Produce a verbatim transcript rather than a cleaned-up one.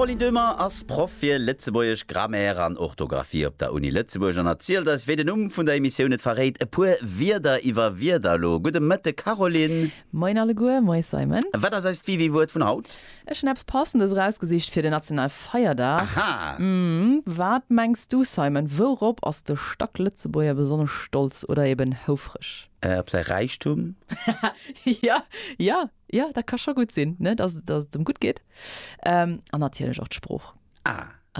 D'Caroline Döhmer ass Proff fir Lëtzebuergesch Grammaire an Orthografie op der Uni Lëtzebuerg an erzielt eis, wéi den Numm vun der Emissioun et verréit, e puer Wierder iwwer Wierder elo. Gudde Mëtte Caroline. Moien alleguer, moie Simon. Wat ass eist Wiwi-Wuert vun haut? Ech hunn eppes Passendes erausgesicht fir den Nationalfeierdag. Aha! Mm, wat mengs du Simon, wourop ass de Stacklëtzebuerger besonnesch stolz oder eben houfreg? Äh, op säi Räichtum? Ja, ja, ja, dat ka scho gutt sinn, ne, dass, dass et em gutt geet. Ähm, an natierlech och d'Sprooch. Ah.